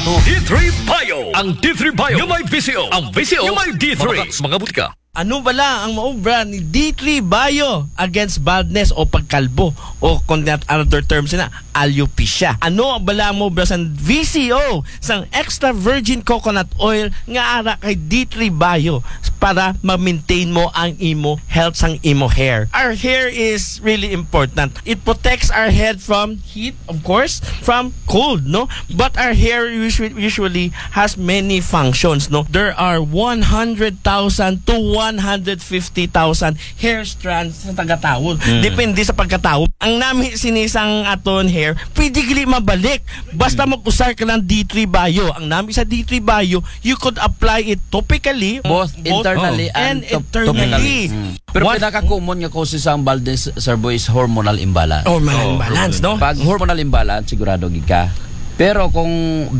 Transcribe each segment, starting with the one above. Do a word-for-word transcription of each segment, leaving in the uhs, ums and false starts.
D three Bio. Ang D three Bio nga may V C O. Ang V C O nga may D three. Mga, mga butika. Ano bala ang maobra ni D three Bio against baldness o pagkalbo? O kung that other terms na, alopecia. Ano bala ang maobra sa V C O, sang extra virgin coconut oil nga ara kay D three Bio para ma-maintain mo ang imo health sang imo hair? Our hair is really important. It protects our head from heat, of course, from cold, no? But our hair usually, usually has many functions, no? There are one hundred thousand to one hundred fifty thousand hair strands sa taga-tawo. Depende sa pagkatawo. Ang nami sinisang aton hair, pwede gali mabalik. Basta mag-usar ka ng D three Bio. Ang nami sa D three Bio, you could apply it topically, Both internally and and, top- internally. topically. Pero What- pinaka-common nga causes sa ang baldness, Sir Boy, is hormonal imbalance. Hormonal imbalance, no? Pag hormonal imbalance, sigurado gid ka. Pero kung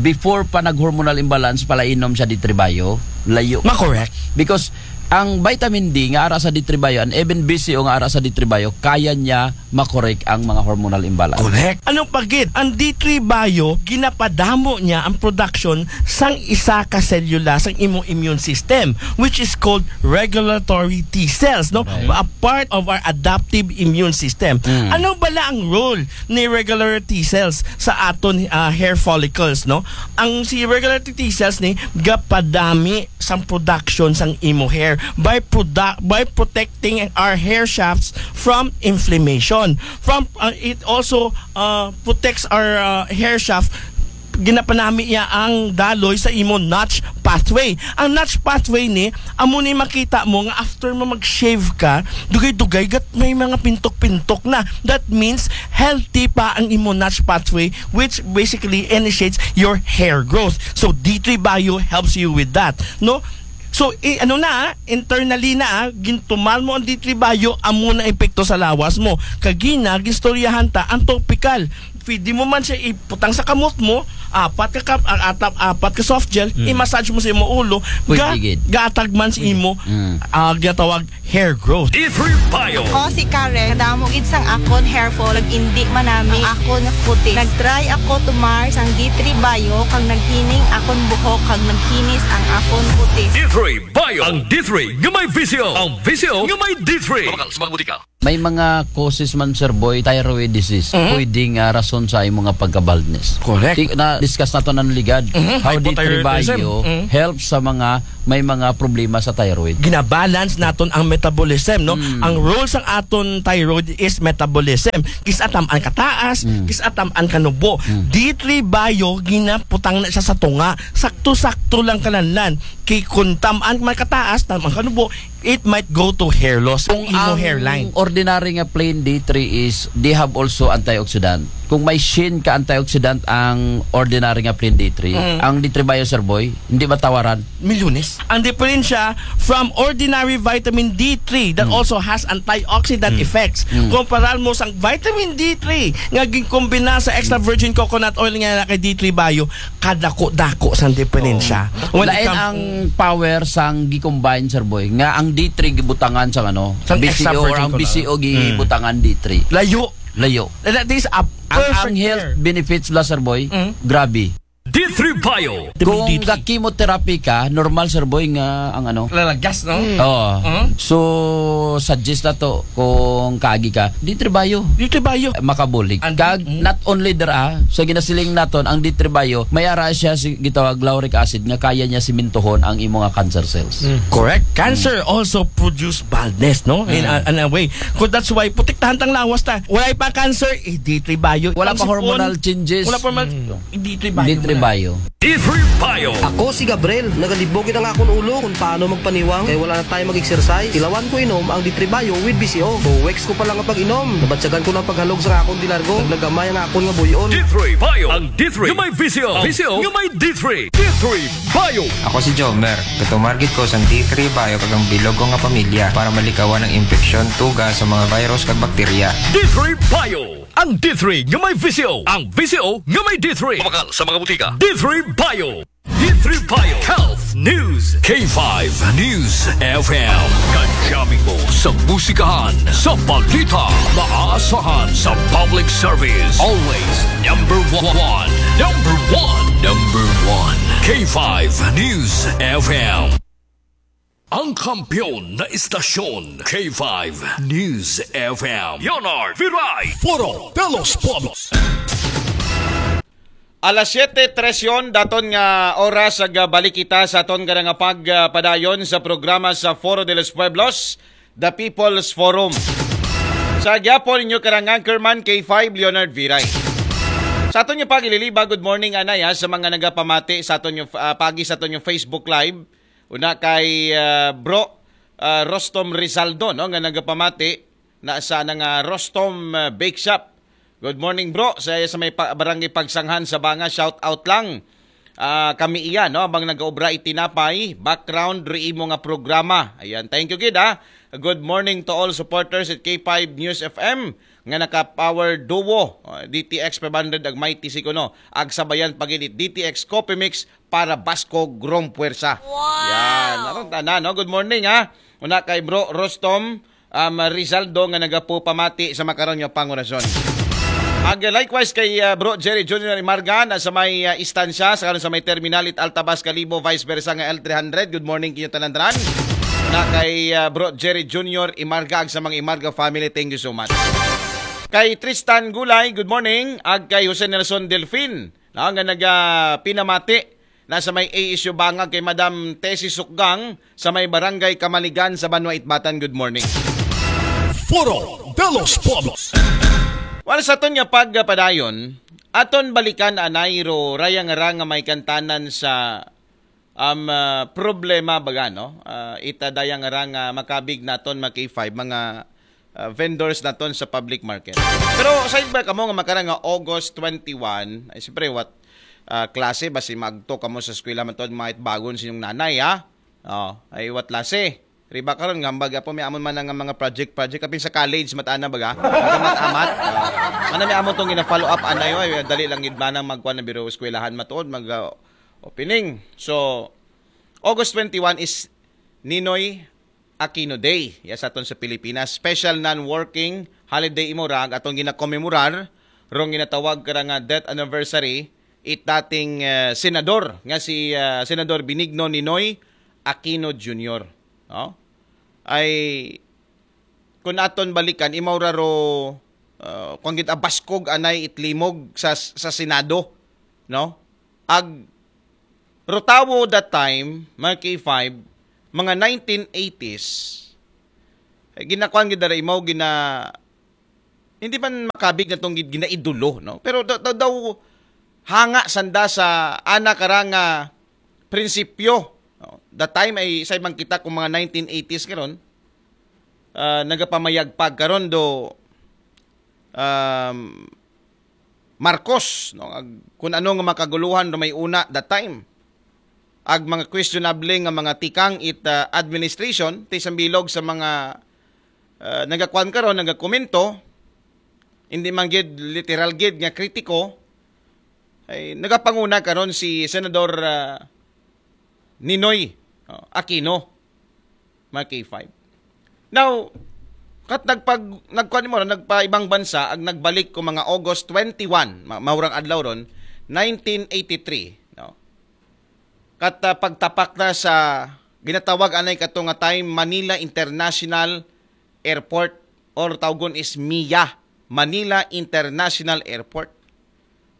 before pa nag-hormonal imbalance, palainom siya D three Bio, layo. Ma-correct. Because ang vitamin D nga ara sa D three Bio and even V C O nga ara sa D three Bio, kaya niya ma-correct ang mga hormonal imbalance. Correct. Ano pa gid? Ang D three Bio, ginapadamo niya ang production sang isa ka selula sang imong immune system, which is called regulatory T cells, no? A part of our adaptive immune system. Ano bala ang role ni regulatory T cells sa aton ah, hair follicles, no? Ang si regulatory T cells ni gapadami sang production sang imo hair by produ- by protecting our hair shafts from inflammation. From uh, it also uh, protects our uh, hair shaft. Ginapanami niya ang daloy sa imo Notch pathway. Ang Notch pathway ni, amo ni makita mo nga after mo mag-shave ka, dugay-dugay gat may mga pintok-pintok na. That means healthy pa ang imo Notch pathway, which basically initiates your hair growth. So D three Bio helps you with that, no? So, i- ano na, ah, internally na, ah, gintuman mo ang D three Bio, amo na epekto sa lawas mo. Kagina, gistoryahan ta, ang topical. Pwede mo man siya iputang sa kamot mo, apat ka kap, ah, atap, apat ka soft gel, i-massage mo sa imo ulo, Pwede gid. Gatag man sa imo, ah, ginatawag hair growth. D three Bio. Ako si Karen. Kadamo gid sang akon hair fall, nag-indi manami ang akon nga kutis. Nag-try ako tumar sang D three Bio, kag naghining akon buhok, kag naghinis ang akon kutis. D three Bio. Ang D three nga may V C O. Ang V C O nga may D three. Mabakal sa mga butika. May mga causes man, Sir Boy, thyroid disease. Pwede nga rason sa imo nga pagka-baldness. Correct. Ti- Na-discuss nato ng ligad. How D three Hypothyroidism. Bio helps sa mga may mga problema sa thyroid. Ginabalance naton ang metabolism, no? Ang role sang aton thyroid is metabolism. Kis-a tam-an kataas, kis-a tam-an kanubo. D three Bio, ginaputang na siya sa tunga. Sakto-sakto lang kananlan. Kay kung tam-an man kataas, tam-an kanubo, it might go to hair loss. Kung Imo ang hairline. ordinary nga plain D three is, they have also antioxidant. Kung may shin ka antioxidant ang ordinary nga plain D three, ang D three Bio, Sir Boy, hindi matawaran. Milunis. Ang diferensya from ordinary vitamin D three that also has antioxidant effects. Kumparar mo sang vitamin D three nga ginkombina sa extra virgin coconut oil nga na kay D three Bio, kadako-dako sang diferensya. When it Lain comes ang power sang gi-combine, Sir Boy, nga ang D three gibutangan sa ano, Sang extra B C O or virgin ang coconut. B C O gibutangan D three. Layo. Layo. That is a Ang, perfect ang health pair. benefits la, Sir Boy, grabe. D three Bio. Kung D three. ga-chemotherapy ka, normal, Sir Boy, nga ang ano, Lalagas, no? Oo. Mhm. So, suggest na to kung kaagi ka, D three Bio. D three Bio. Makabulig. And- Kag, mm. not only there, ah, sa ginasiling naton, ang D three Bio, may ara siya si gitawag lauric acid nga kaya niya simintuhon ang imo nga cancer cells. Correct. Cancer also produce baldness, no? In, a, in a way. So that's why, protektahan tang lawas ta. Wala pa cancer, eh, D three Bio. Wala pa Ang sipon, hormonal changes. Wala pa hormonal, D three Bio. D three muna. Bio. D three Bio. Ako si Gabriel, nagalibog gid ang akon ulo kung paano magpaniwang kay wala na tayo mag-exercise. Tilawan ko inom ang D three Bio with B C O. Two weeks ko pa lang ang pag-inom, nabatyagan ko ng paghalog sa akon di largo. Naglagamay ang akon nga buyon. D three Bio. Ang D three nga may V C O. V C O nga may D three. D three Bio. Ako si Jomer. Gatumar gid ko sang D three Bio kag ang bilog ko nga pamilya para malikawan ang impeksyon, tuga sa mga virus kag bakterya. D three Bio. Ang D three nga may V C O. Ang V C O nga may D three. Mabakal sa mga butika. D three Bio. D three Payo Health News, K five News F M. Kadyamin mo sa musikahan, sa balita, maasahan sa public service. Always number one, number one, number one. K five News F M. Ang kampiyon na istasyon, K five News F M. Leonard Viray. Foro de los Pueblos. Alas siyete trese daton nga oras, ag balik kita sa aton karang pagpadayon sa programa sa Foro de los Pueblos, The People's Forum. Sa gyapon inyo karang anchorman, K five Leonard Viray. Sa aton nga pagililiba, good morning anay ha, sa mga nagapamati sa aton nga, ah, pagi sa aton nga Facebook Live. Una kay, ah, Bro, ah, Rostom Rizaldo, no, nga nagapamati na sa nang, ah, Rostom, ah, Bake Shop. Good morning, bro. Sa, sa may pa, barangay Pagsanghan sa Banga, shout out lang. Ah, kami iyan, no, abang nagaobra itinapay, background ri imo nga programa. Ayan, thank you gid, ha. Good morning to all supporters at K five News F M nga naka-power duo, ah, D T X five hundred ag Mighty Sikuno, ag sabayan pagid it D T X Coffee Mix para Baskog Rong Puwersa. Wow! Yan, aron tanan, no? Good morning, ha. Una kay Bro Rostom, um, Rizaldo nga nagapupamati sa makaron nga pangorason. Ag likewise kay, uh, Bro Jerry Junior Imarga na sa may, uh, istansya, sa karon sa may terminal it Altabas Kalibo, vice versa nga L three hundred. Good morning kinyo tanan-tanan. Na kay, uh, Bro Jerry Junior Imarga ag sa mga Imarga family, thank you so much. Kay Tristan Gulay, good morning. Ag kay Jose Nelson Delfin, na nga naga pinamati na sa may A S U Bangag kay Madam Tessie Sukgang sa may Barangay Kamaligan sa Banwa Itbatan. Good morning. Foro de los Pueblos. Well, sa aton nga pagpadayon, aton balikan anay ro rayang ra nga may kantanan sa, um, ah, problema baga, no? Ah, ita dayang ra nga makabig naton mga K five, mga, ah, vendors naton sa public market. Pero sa ba kamo nga makarang nga August twenty-one, ay siyempre what, ah, klase ba si magto kamo sa eskwela man to, mga itbagon sa inyong nanay, ha? Oh, ay what klase? Riba karon nga hambag apo may amon man nga mga project project apin sa college matana baga. Amat-amat. Ah, mana may amon tong gina-follow up anay, oy, dali lang gid manang magkuan na biro eskwelahan matuod mag, ah, opening. So August twenty-one is Ninoy Aquino Day. Ya sa aton sa Pilipinas, special non-working holiday imo ra ag aton ginakomemorar rong ginatawag kara nga death anniversary it dating, eh, senador nga si, ah, Senador Benigno Ninoy Aquino Junior, no? Ay kun aton balikan, imaw ra ro, ah, kung gid abaskog anay itlimog sa, sa Senado, no? Ag rotawo that time, mga K five, mga nineteen eighties, eh, ginakuan gid dara imaw gina hindi man makabig na tong gid ginaidolo, no? Pero daw, daw, daw hanga sanda sa ana karang prinsipyo, no? That time ay say man kita kung mga nineteen eighties karon, ah, nagapamayagpag karon do, um, Marcos, no? Ag, kung ano nga makaguluhan do may una that time. Ag mga questionable nga mga tikang it, ah, administration, ti sa bilog sa mga, ah, nagakuan karon, nagakomento, hindi man gid literal gid nga kritiko, ay nagapanguna karon si Senador, ah, Ninoy, oh, Aquino, mga K five. Now, kat nagpag nagkuan mo nagpaibang bansa ag nagbalik ko mga August twenty-one, ma- mahurang adlaw ron, nineteen eighty-three, no? Kat, ah, pagtapak na sa ginatawag anay kato nga time Manila International Airport or tawgon is MIA, Manila International Airport.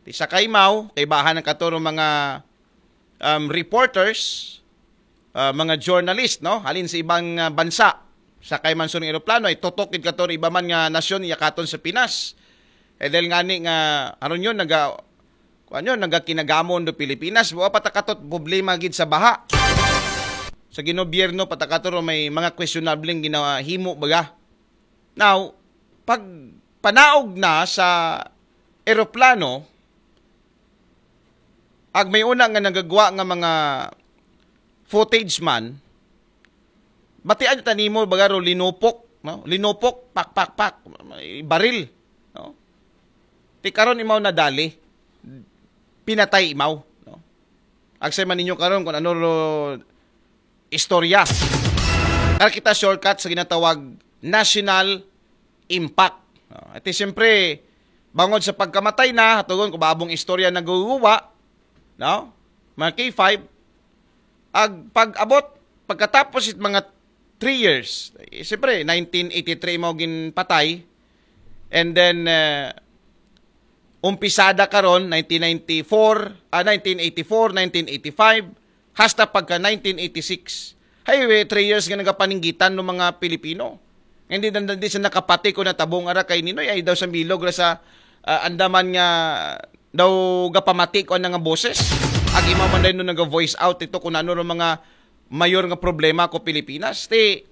Ti sa kaimaw, kay bahan ang katuro mga, um, reporters, ah, mga journalist, no? Halin sa ibang, ah, bansa. Sa kay man sa eroplano, ay tutok gid kato iba man nga nasyon, iya katon sa Pinas. Eh, dahil nga ni nga, aron yun, naga, kuan yun, naga kinagamon do Pilipinas. Wa patakatot problema gid sa baha. Sa ginobyerno, patakato ro may mga questionable ginawa, himo baga. Now, pag panaog na sa eroplano, ag may una nga nagagwa nga mga footage man, batian ta nimo baga ro linupok, no? Linupok, pak, pak, pak, may baril, no? Ti karon imaw nadali, pinatay imaw, no? Agsay man ninyo karon kung ano ro istorya. Kaya kita shortcut sa ginatawag national impact. Ah, ito siyempre, bangod sa pagkamatay na, hatugon ko ba abong istorya naguguwa, no? Mga K five, ag pag-abot, pagkatapos it mga three years, eh, siyempre, nineteen eighty-three mo ginpatay, and then, uh, umpisada karon, nineteen ninety-four, ah, nineteen eighty-four, nineteen eighty-five, hasta pagka nineteen eighty-six. Hay, eh, three years nga nagapaninggitan ng mga Pilipino. Hindi, hindi, hindi siya nakapati kung natabong ara kay Ninoy, ay daw sa bilog ra sa, ah, andaman nga daw gapamati ko ang nga boses. Ag imaw man daw nung naga-voice out ito kung ano ro mga mayor nga problema ko Pilipinas. Ti,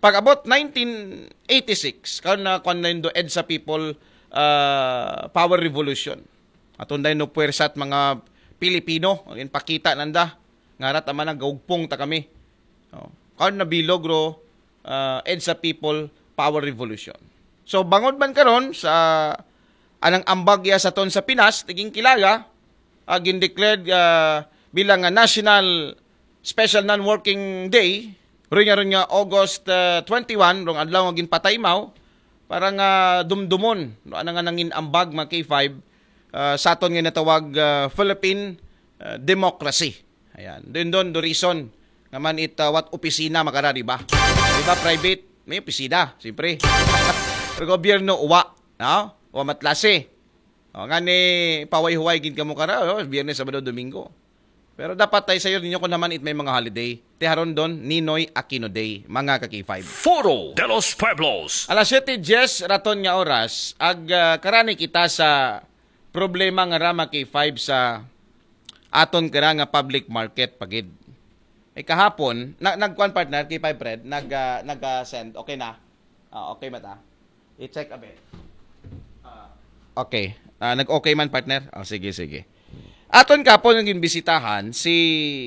pag-abot nineteen eighty-six, karon na kuan na do EDSA People, ah, Power Revolution. Aton dahil no puwersa at mga Pilipino, ang ipakita nanda, nga rat ama na gaugpong ta kami. Oh. Karon na bilog ro, ah, EDSA People Power Revolution. So, bangod man karon sa anang ambag ya sa ton sa Pinas, tiging kilaga, ah, gindeclared, ah, bilang nga National Special Non-Working Day, rin nga rin nga August, ah, twenty-one, rong adlaw nga ginpatay mao, para nga dumdumon, no, ano nga nangin ambag mga K five, ah, sa aton nga natawag, ah, Philippine, ah, democracy. Ayan. Doon, doon, the reason nga man it, ah, what opisina makara, di ba? Di ba, private? May opisina, siyempre. Pero gobyerno, uwa. No? Uwa matlase. O, nga ni paway-huway gid kamo kara, o, Biyernes, Sabado, Domingo. Pero dapat tayo sayo ninyo kung naman it may mga holiday. Tiharon doon, Ninoy Aquino Day, mga ka-K five. Foro de los Pueblos. Alas siyete diyes raton nga oras, ag, ah, karani kita sa problema nga rama K five sa aton kara nga public market pagid. Eh, kahapon, na, nagkuan partner, K five Fred, nag, ah, nag, ah, send. Okay na? Ah, okay mata. I-check a bit. Ah, okay. Ah, nag-okay man, partner? Oh, sige, sige. Aton kapon ang ginbisitahan si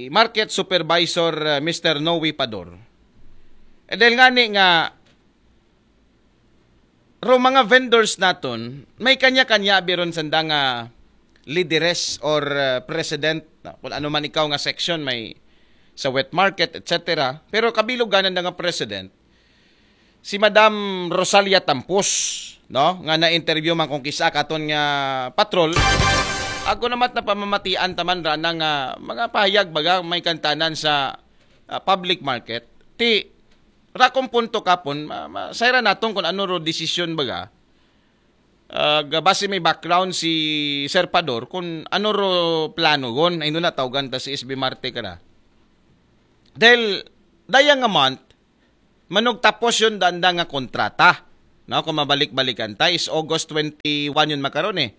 Market Supervisor, ah, Mister Noe Pador. Eh, dahil nga ni nga ro mga vendors naton, may kanya-kanya biron sanda nga lideres or, ah, president, na, kung ano man ikaw nga section, may sa wet market, et cetera. Pero kabilugan na nga president, si Madam Rosalia Tampos, no, nga na-interview man kung kisa katon nga patrol, ako naman na pamamatian taman ra na nga mga pahayag baga may kantanan sa, ah, public market. Ti, rakong punto kapon, ma, ma, sayra naton kung ano ro desisyon baga. Ah, base may background si Sir Pador kung ano ro plano gon, ay na tawgan ta si S B Marte kara. Dahil daya nga month, manugtapos yun danda nga kontrata. No, kung mabalik-balikan ta, is August twenty-one yun makaron eh.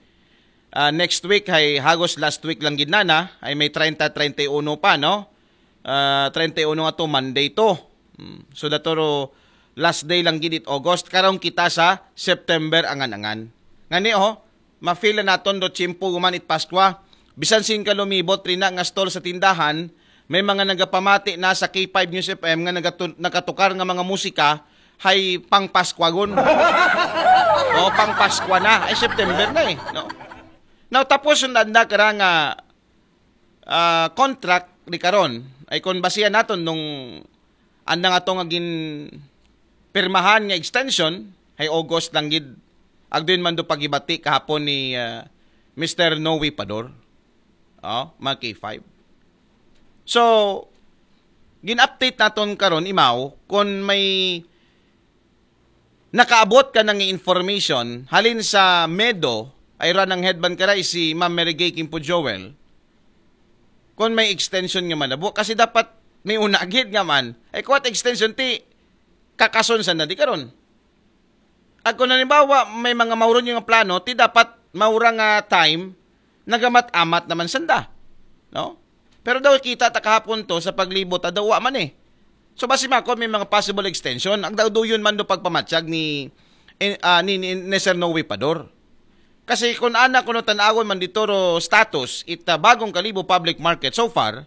Ah, next week, ay hagos last week lang gid na na, ay may treinta, treinta y uno pa, no? Ah, treinta y uno nga to, Monday to. Hmm. So, datoro last day lang gid it August. Karong kita sa September angan-angan. Ngani, oh, ma-feel na naton do tiyempo guman it Paskwa. Bisan sin ka lumibot rin na nga stall sa tindahan, may mga nagapamati na sa K five News F M nga nagatu-, nakatukar nga mga musika, hay pang Paskwagon. O, pang Paskwa na. Ay, September na eh. No? Now, tapos yung anda kara nga, ah, contract ni karon, ay kung basihan naton nung andang ato nga gin pirmahan nga extension, hay August lang gid, agdin man do pagibati kahapon ni, ah, Mister Noe Pador. Oh, mga K five. So, gin-update naton karon, imaw, kung may nakaabot ka ng information, halin sa medo, ay ra ng headband karay si Ma'am Mary Gay Kimpo Joel, kung may extension nga manabo, kasi dapat may unagid nga man, ay kuwat extension ti, kakason sa na di karon. At kung halimbawa, may mga mauron yung plano, ti dapat maura nga time, nagamat-amat naman sanda. No? Pero daw kita ta kahapon to sa paglibot, ah, daw wa man eh. So, basi makon may mga possible extension. Ang daw duyon man do pagpamatyag ni, eh, ah, ni, ni, ni Sir Noe Pador. Kasi kung ana kuno tan-awon man dito ro status, ita bagong Kalibo Public Market so far,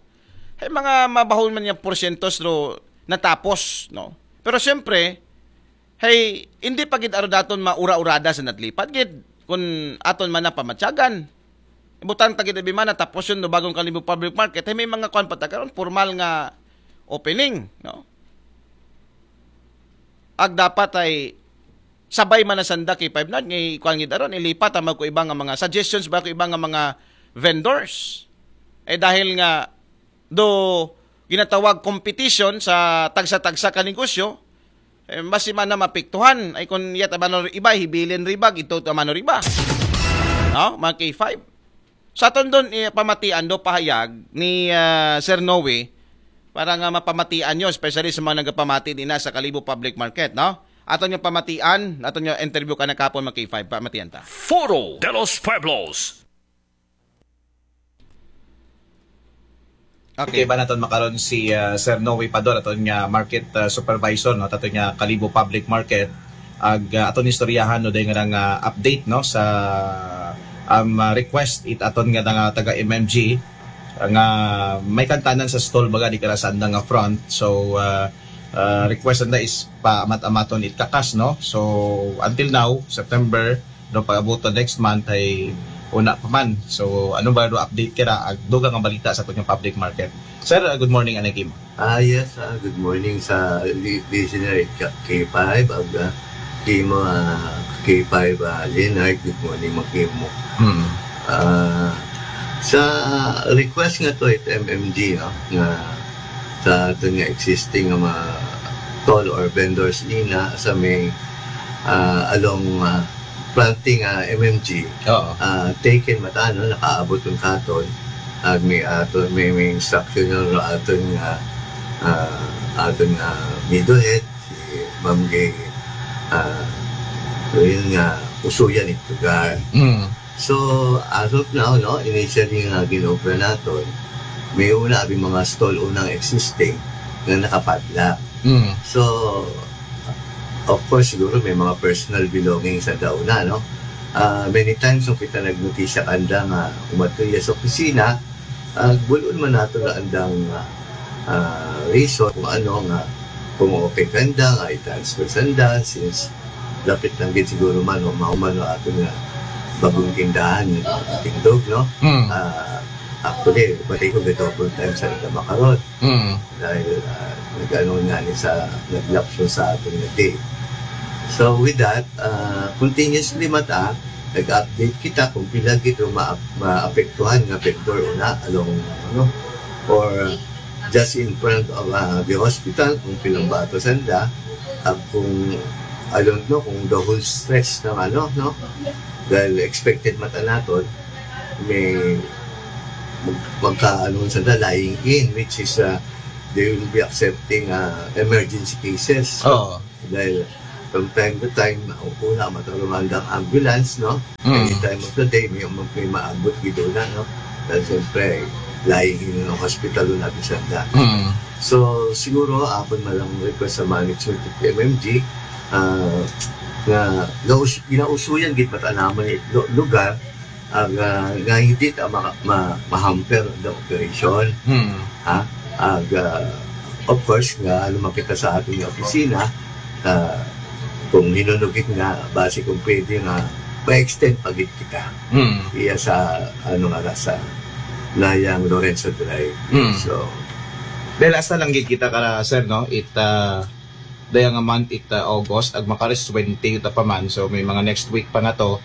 ay mga mabahon man yung porsyento ro natapos, no? Pero siyempre, hey, hindi pa gid aro daton maura-urada sa natlipad gid kung aton man na pamatyagan. Butang ta gid abi man, tapos yun, no, bagong Kalibo Public Market, ay may mga kuan pa ta karon, formal nga opening, no? Ag dapat ay sabay man na sanda K five Nard, nga ikuan gid aron, ilipat ang ko iba nga mga suggestions ba ko iba nga mga vendors. Eh, dahil nga, do ginatawag competition sa tagsa-tagsa ka negosyo, eh, mas man na mapiktuhan. Ay kung yat amano iba, hibilin riba, ito amano riba. No? Mga K five. Sa aton doon, eh, pamatian do pahayag ni ah, Sir Noe, para nga mapamatian nyo, especially sa mga nagapamati din na sa Kalibo Public Market, no? Aton nga pamatian, aton nga interview ka na kapon, mga K five, pamatian ta. Foro de los Pueblos. Okay, ba naton makaron si ah, Sir Noe Pador, aton nga market ah, supervisor, no, aton nga Kalibo Public Market. Ag ah, aton istoryahan, no, dahil nga nga update, no, sa um, ah, request it aton nga nga taga M M G nga may kantanan sa stall baga di kara sa andang nga front. So ah, ah, request na is pa amat-amaton it kakas, no. So until now, September, no, pag-abot to next month ay una pa man. So ano ba do update kira ag dugang nga balita sa aton nga public market? Sir, ah, good morning, anay kimo? Ah, yes, ah, good morning sa li- listener at K five, ag ah, kimo, ah, K five, ah, Leonard, good morning, makimo. Hmm. Ah, sa request nga to it M M G, no, nga sa aton nga existing nga mga stall or vendors nina sa may ah, along ah, planting ah, M M G, Oo. ah, taken mata, no, nakaabot yung katon. Ag may aton, may, may instruction yung aton nga ah, aton nga middlehead, si Ma'am Gay, ah, yun nga usuyan ito lugar. Mm. So, as of now, no, initially nga ginobra naton, may una abi mga stall unang existing nga nakapadlock. Mm. So, of course, siguro may mga personal belongings sa dauna, no? Ah, many times, kung kita nagnotisya kanda nga umato iya sa opisina, ah, bulon man nato na andang ah, ah, reason kung ano nga, kung okay kanda nga i-transfer sanda, since lapit lang gid siguro man o mao man ang aton nga bagong tindahan nga tindog, no? Mm. Ah, actually, pati ko gid full time sa ita makaron. Mm. Dahil ah, nag-ano nga ni sa naglapso sa aton nga day. So with that, ah, continuously mata nag-update kita kung pila gid ang ma- maapektuhan nga vendor una along ano or just in front of ah, the hospital kung pilang bato sanda at kung I don't know kung the whole stretch ng ano, no? Dahil expected mata naton may mag- magkaano sanda lying in, which is ah, they will be accepting ah, emergency cases. Oo. Dahil from time to time, una, matarumandang ambulance, no? Mm. Any time of the day, may, may maabot gid una, no? Dahil siyempre, lying in ng hospital na bisanda. Mm. So, siguro, akon man lang request sa management of M M G, ah, nga gaus, ginausuyan gid mata naman it lu- lugar, ag ah, nga hindi ta ma, ma, ma-hamper the operation. Hmm. Ha? Ag ah, of course, nga ano man kita sa aton nga opisina, ah, kung hinunugit nga, base kung pwede nga, ma-extend pa gid kita. Hmm. Iya sa, ano nga, sa Layang Lorenzo Drive. Hmm. So, dahil hasta lang gid kita kara, sir, no? It, ah, daya nga month it uh, August, ag makaris twenty ta pa man. So may mga next week pa na to.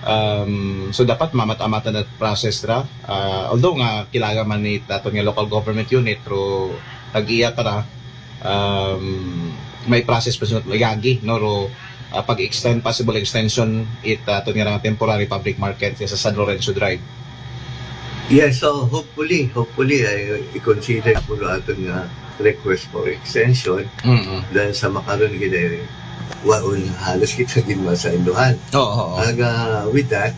Um, so dapat mamat-amatan at process ra. Uh, although nga kailangan man ni aton nga local government unit, pero tag-iya ka ra, um, may process pa sunod, may gagi, no, ro, uh, pag-extend, possible extension it uh, aton nga temporary public market sa San Lorenzo Drive. Yes, so hopefully, hopefully, ay i-consider po aton nga request for extension. Mm-mm. Dahil sa makaron gid ay waon halos kita gid masainduhan. Oo, oo. Ag ah, with that,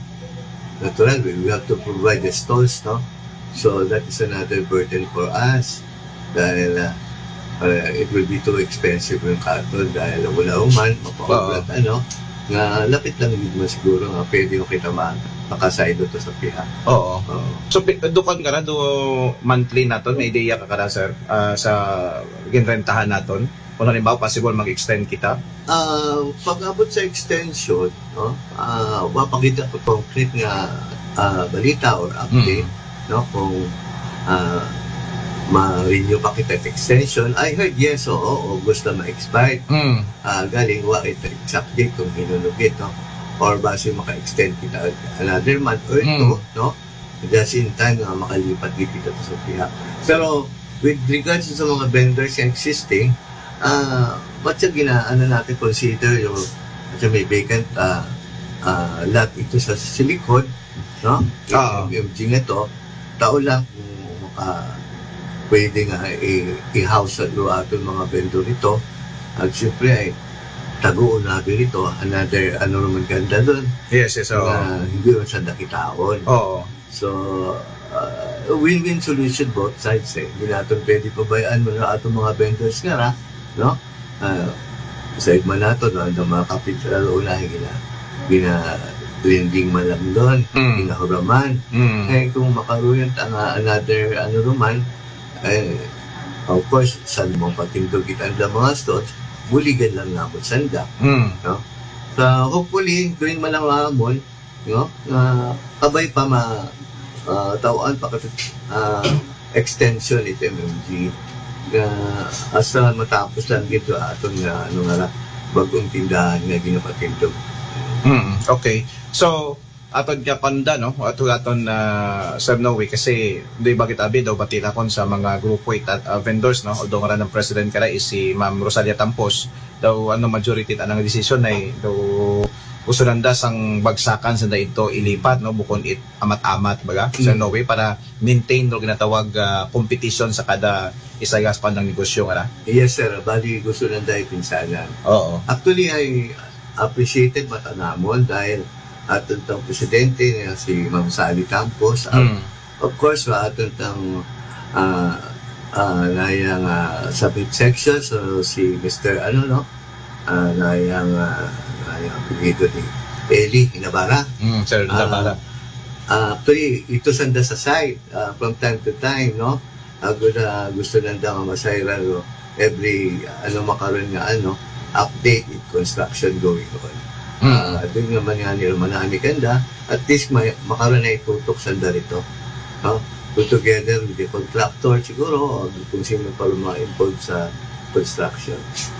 natural, we have to provide the stalls, no? So that is another burden for us. Dahil ah, ah, it will be too expensive yung katon dahil wala man, mapaublat, ano, nga lapit lang gid man siguro nga pwede yung kita ma makasaylo to sa piha. Oo. Oo. So, pi- dukan ka na, do monthly na to, may ideya ka ka na, sir, ah, sa ginrentahan naton? Kung halimbawa, possible mag-extend kita? Ah, pag-abot sa extension, no? Ah, wa pa kita ko concrete nga ah, balita or update, no, kung ah, ma-renew pa kita extension. I heard, yes, oo, August na ma-expire. Mm. Ah, galing, wa kita exact date kung hinunugit, no? Or basi maka-extend kita another month or Mm. two, no? Just in time nga makalipat gid kita sa piha. Pero with regards sa mga vendors na existing, ah, what siya gina-, ano natin, consider yung, at may vacant ah, ah, lot ito sa, sa likod, no? Oo. Yung M G nga to, tao lang kung maka, pwede nga i- i-house sa luwa aton mga vendor ito. At siyempre ay taguon na ito, another ano naman ganda doon. Yes, yes, oo. Na hindi rin sa dakitaon. Oo. So, uh, win-win solution both sides eh. Hindi natin pwede pabayaan mo na atong mga vendors nga ra, no? Uh, sa igma nato, no? Ang mga capital una, gina, gina lending man lang doon, Mm. ginahuraman. Mm. Eh, kung makaroon ang another, ano naman, eh, of course, sa mga patindog kita ang mga stores, buligan lang naman sanda. Mm. No? So, hopefully, during man ang amon, no? Nga kabay pa ma uh, tawaan pa kat- ah, extension ito M M G nga asa matapos lang dito aton nga ano nga ra, bagong tindahan nga ginapatindog. Mm, okay. So, atod nga kanda, no? Atod aton na Sir Noe, kasi di bakit abi daw bati na kon sa mga grupo it at ah, vendors, no? Although nga ng president ka na is si Ma'am Rosalia Tampos, daw ano majority it anang decision ay daw gusto nanda sang bagsakan sanda ito ilipat, no? Bukon it amat-amat, baga, Sir Mm. Noe, para maintain no ginatawag ah, competition sa kada isagas pa ng negosyo, nga na? Yes, sir. Bali, gusto lang dahil pinsanan. Oo. Actually, I appreciated matanamon dahil aton tang presidente nga si Ma'am Sally Campos. At Mm. of course, wa aton tang ah ah nayang ah, sa midsection, so si Mister ano, no? Ah, nayang ah, nayang apelyido ni Eli Nabara. Mm, Sir Ah, Nabara. Ah, actually, ito sanda sa site ah, from time to time, no? Ah, gusto, gusto nanda nga masayran, no? Every ano makaroon nga ano, update in construction going on. Mm. Ah, doon naman nga nila manami kanda, at least may, makaroon na itutok sanda rito. No? Put together with the contractor siguro, o kung sino pa rin mga involved sa construction.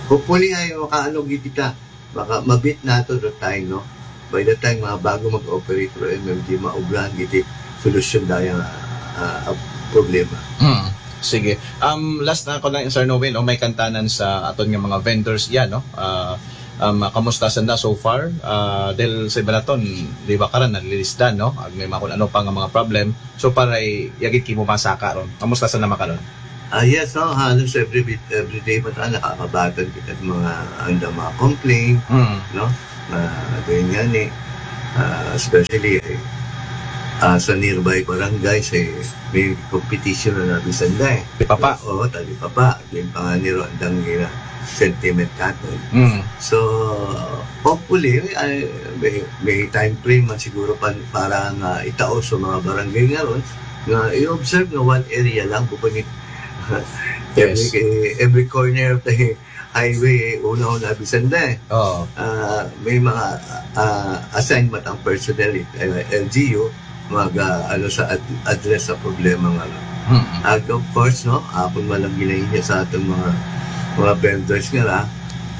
Hopefully ay makaano gid kita, maka mabit nato the time, no? By the time mga bago mag-operate ro M M G, maubrahan gid solusyon daya nga ah, problema. Mm. Sige. Um, last na ko lang, Sir Noel, no? May kantanan sa aton nga mga vendors yan, no? Ah, um, kamusta sanda so far? Ah, dahil sa iba naton, di ba karan, nalilisdan, no? Ag may mga kung ano pa nga mga problem. So, para i-, yagit kimo masaka ron. Kamusta sanda makaron? Ah, yes, no? Halos every bit, every day pa tayo nakakabatan kita ng mga, anda mga complaint, Mm. no? Ah, ganyan nga ni, ah, especially eh, ah, sa nearby barangays eh, may competition na nabisan na eh. Di papa. Oo, tali papa. Yung panganiro, andang gina sentiment natin. Mm. So, hopefully, ay, may, may time frame man siguro pa, para nga itao sa mga barangay nga ron, nga i-observe nga one area lang, bukod ni every, Yes. eh, every corner of the highway, eh, una-una, bisan na eh. Oo. Ah, may mga ah, assignment ang personnel, eh, L G U, mag ah, ano sa ad- address sa problema nga. Mm. At of course, no, ako man lang ginainyo sa atong mga mga vendors nga ra,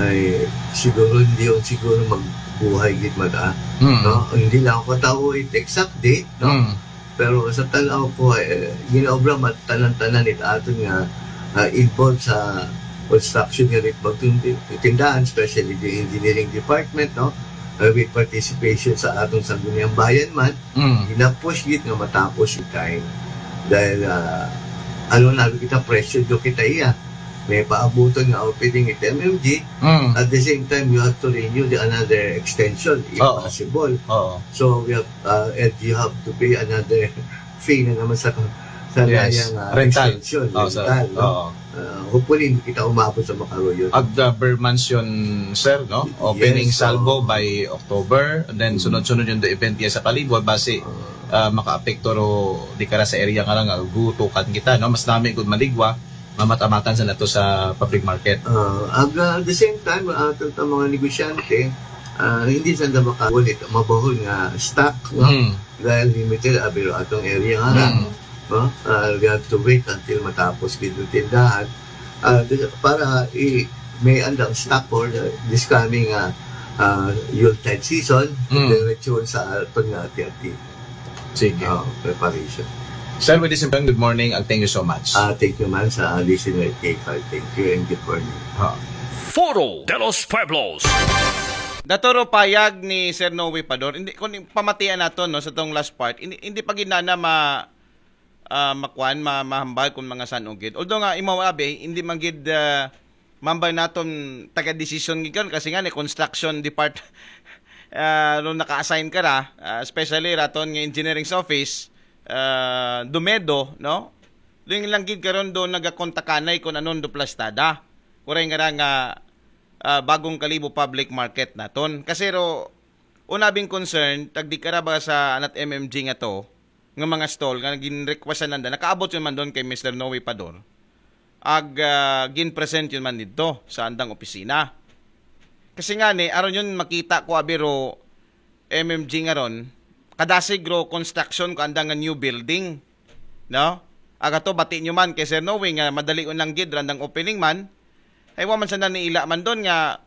ay siguro hindi yun siguro magbuhay gid mata, Mm. no? Hindi lang ako tao it exact date, no? Mm. Pero sa tanaw ko, eh, ginaobra man tanan-tanan it aton nga ah, involved sa construction nga rin pagtindi tindahan, especially the engineering department, no? Uh, with participation sa atong Sangguniang Bayan man, Mm. ginapush gid nga matapos yung time. Dahil ah, ano na kita, pressure do kita iya. May paabuton nga opening it M M G. Mm. At the same time, you have to renew the another extension if Oo. possible. Oo. So, we have, uh, and you have to pay another fee na naman sa sa Yes. layang, uh, Rental. extension, Oo, sir. rental, no? Oo. Uh, hopefully, hindi kita umabot sa makaruyo. Ag uh, Ber Mansion, sir, no? Opening Yes, so- salvo by October, and then Mm. sunod-sunod yung event niya sa Kalibor, basi uh, makaapekto ro di kara sa area nga lang, uh, gutukan kita, no? Mas nami gud maligwa, mamat-amatan sa nato sa public market. Uh, ag, uh, at the same time, uh, aton ta mga negosyante, Ah, hindi sanda makakuha nito, mabahul nga stock, no? Mm. Dahil limited, abiro atong area nga, Mm. no? Ah, we have to wait until matapos gid ang tindahan. Ah, di- para i may andang stock for the, this coming ah, ah, Yuletide season, Mm. diretso sa aton nga ati-ati. Sige. Ah, preparation. Sir, with this, good morning and thank you so much. Ah, thank you man sa listener kay Carl. Thank you and good morning. Ha. Foro de los Pueblos. Datoro payag ni Sir Noe Pador, hindi, kung pamatian nato, no, sa tong last part, hindi, hindi pa gid na ma ah, makuan, ma, mahambal kung mga san-o gid. Although nga imo abi, hindi man gid ah, mambal naton taga-decision gid karon kasi nga ni construction depart ah, ron naka-assign ka ra, ah, especially raton nga engineering sa office, ah, Dumedo, no? Doon lang gid karon do nagakontakanay kung anon do plastada. Kuray nga ra nga ah, bagong Kalibo Public Market naton. Kasi ro, una bing concern, tagdi ka ra ba sa anat M M G nga to, nga mga stall, nga gin-requestan nanda, nakaabot yun man doon kay Mister Noe Pador. Ag ah, gin-present yun man dito sa andang opisina. Kasi nga ni, aron yun makita ko abi ro M M G nga ron, kadasig ro construction ko andang nga new building. No? Aga to, bati nyo man kay Sir Noe nga madali unang gid randang opening man. Ay, wa man sa naniila man doon nga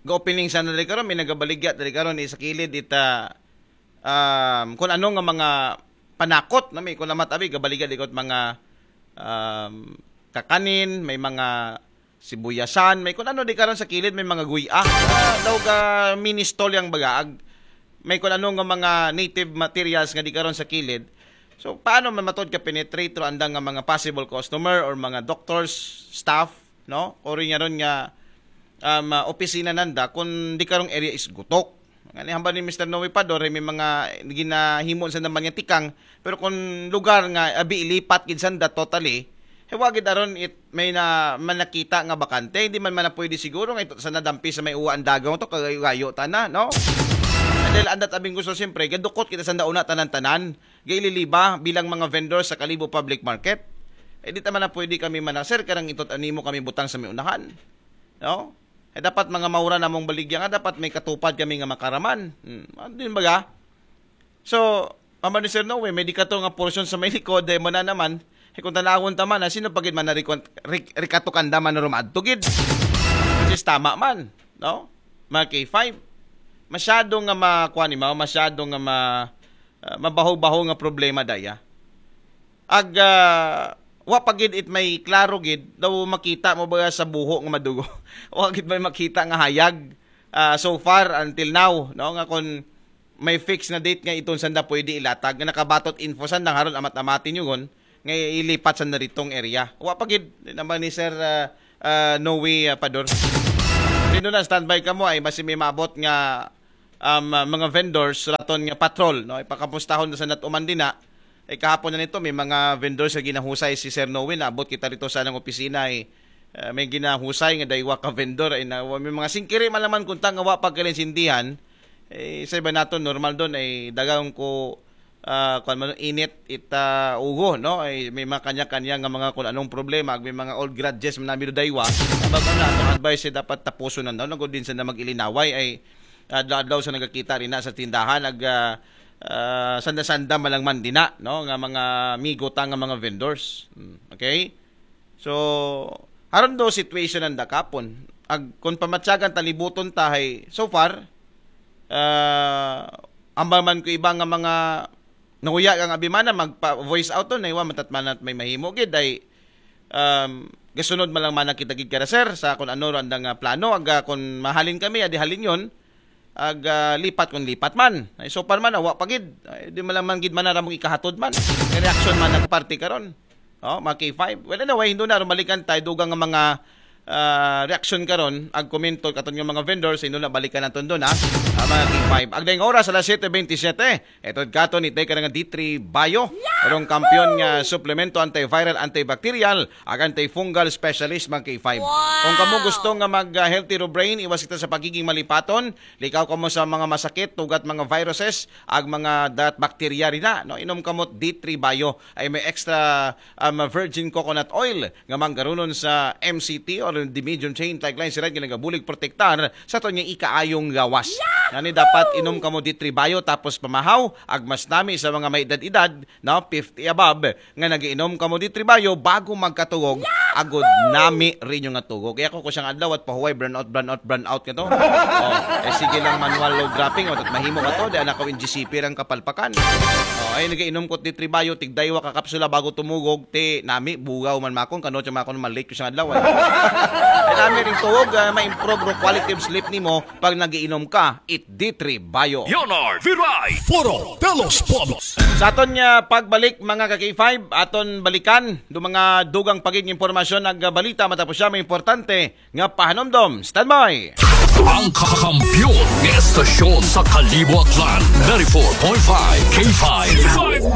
ga-opening sa na dali karon, may nagabaligya dali karon sa kilid ita um, kung ano nga mga panakot na may kung namat abi gabaligya di ko mga um, kakanin, may mga sibuyasan, may kung ano di karon sa kilid may mga guya. Ah, daw ga mini stall yang baga ag may kung ano nga mga native materials nga di karon sa kilid. So paano man matod ka penetrate ro andang nga mga possible customer or mga doctors, staff, no? O rin nga ron nga um, ah, opisina nanda kung di karong area is gutok. Nga ni hambal ni Mister Noe Pador, may mga ginahimo sa naman nga tikang, pero kung lugar nga abi ilipat gid sanda totally, eh, wa gid aron it may na manakita nga bakante, hindi man man na pwede siguro nga ito sa nadampi sa may uwa ang dagaw to kagayo-gayo ta na, no? Dahil andat abing gusto siyempre, gadukot kita sa nauna tanan-tanan, gaililiba bilang mga vendor sa Kalibo Public Market. Eh, di ta man na pwede kami manaser, karang itot animo kami butang sa may unahan. No? Eh, dapat mga maura namong baligya nga, dapat may katupad kami nga makaraman. Hmm. Ano din baga? So, Mama ni Sir Noe, may di ka to nga portion sa may likod, dahil mo na naman, eh, kung tanawon ta man, ah, sino pa gid man na rikon- rik- rikatukanda man na rumadto gid? Which is tama man, no? Mga K five. Masyado nga makuha ni Mao, masyado nga ma, ah, mabaho-baho nga problema daya. Ag ah, wa pa gid it may klaro gid daw makita mo ba sa buho nga madugo. Wa gid may makita nga hayag ah, so far until now, no, nga kon may fix na date nga iton sanda pwede ilatag nga nakabatot info sanda nga haron amat-amatin yugon nga ilipat sa naritong area. Wa pa gid naman ni Sir ah, ah, Noe ah, Pador. Nino na standby ka mo ay basi may maabot nga um, ah, mga vendors raton nga patrol, no, ipakapustahon na sa natuman din na. Eh, kahapon na nito may mga vendors nga ginahusay si Sir Noe, naabot kita rito sa nang opisina ay ah, may ginahusay nga daywa ka vendor ay na may mga singkiri man laman kung tanga wa pagkalinsindihan. Eh, sa iba nato normal doon ay dagang ko ah, kung ano, init ita ugo, no? Ay may mga kanya-kanya nga mga kung anong problema, may mga old grudges man nami do daywa. Bago na atong advice ay dapat tapuson na daw, nagod din sa na mag-ilinaway ay adlaw-adlaw sa nagakita rin na sa tindahan ag ah, ah, sanda-sanda man lang man dina, no, nga mga migo ta nga mga vendors. Hmm, okay? So, aron do situation ang dakapon. Ag kung pamatyagan talibuton tahay so far, ah, ambal man ko iba nga mga nahuya ang abimana magpa voice out to na iwa matatmanat may mahimo gid ay um, gasunod man lang man kita gid kara sir sa kung ano ro andang ah, plano aga kung mahalin kami adi halin yon ag ah, lipat kung lipat man ay so far man awa pa gid ay, di man lang man gid man aramong ikahatod man may reaction man ang parte karon oh mga K five well anyway hindi na rumalikan tayo dugang nga mga ah, reaction karon ag komento katon nga mga vendors hindi na balikan naton doon ha Ah, mga K five. Agdayng oras, alas siyete bentisiete. Itod katon, itay ka na nga D three Bio. Karong kampiyon nga suplemento antiviral, antibacterial, ag antifungal specialist, mga K five. Kung kamo gusto nga mag, ah, healthy ro brain, iwas kita sa pagiging malipaton, likaw kamo sa mga masakit, ugat mga viruses, ag mga dat bacteria rin na, no? Inom kamo D three Bio, ay may extra, um, virgin coconut oil nga manggarunon sa M C T or the medium chain tagline siran nga nagabulig protektar sa aton nga ikaayong gawas. Ngani dapat inom kamo D three Bio tapos pamahaw, ag mas nami sa mga may edad-edad, no, fifty above, nga nagiinom kamo D three Bio bago magkatugog, agod nami rin yung nga tugog. Kaya ko ko siyang adlaw at pahuway, brownout, brownout, brownout nga to. Oh, eh, sige lang manual load dropping, o, tat mahimo ka to, di anak ko in G C P rang kapalpakan. Oh, ay, nagiinom ko D three Bio, tigdaywa ka kapsula bago tumugog, ti nami, bugaw man makon, kano siya makon, malate ko siyang adlaw, eh. Ay, nami rin tugog, ah, ma-improve ro quality of sleep nimo pag nagiinom ka, it D three Bio. Leonard Viray. Foro de los Pueblos. Sa aton nga pagbalik, mga ka K five, aton balikan do mga dugang pagiging impormasyon ag balita matapos siya may importante nga pahanumdom. Standby! Ang kakampiyon ng estasyon sa Kalibo, Aklan, ninety-four point five K five.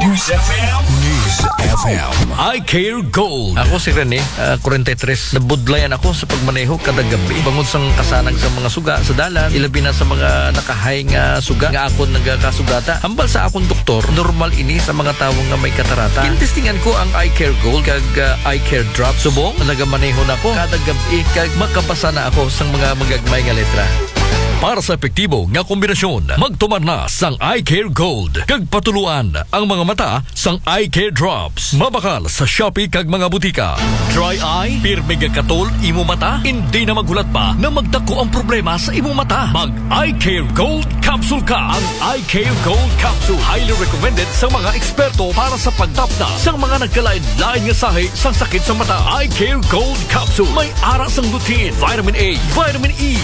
News F M. News F M. I Care Gold. Ako si Rene, ah, forty-three. Nabudlayan ako sa pagmaneho kada gabi. Bangod sang kasanag sa mga suga sa dalan, ilabi na sa mga nakahay nga suga nga akon nagakasugata. Hambal sa akon doktor, normal ini sa mga tawo nga may katarata. Gintestingan ko ang Eye Care Gold kag, ah, Eye Care Drop. Subong, nagamaneho na ako kada gabi kag makabasa na ako sang mga magagmay nga letra. Para sa epektibo nga kombinasyon, magtumar na sang Eye Care Gold kag patuluan ang mga mata sang Eye Care Drops. Mabakal sa Shopee kag mga butika. Dry eye, pirmi gakatol imo mata, hindi na maghulat pa na magdako ang problema sa imo mata. Mag Eye Care Gold Capsule ka. Ang Eye Care Gold Capsule highly recommended sa mga eksperto para sa pagtapna sa mga nagkalain-lain nga sahi sang sakit sa mata. Eye Care Gold Capsule may ara sang lutein, vitamin A, vitamin E,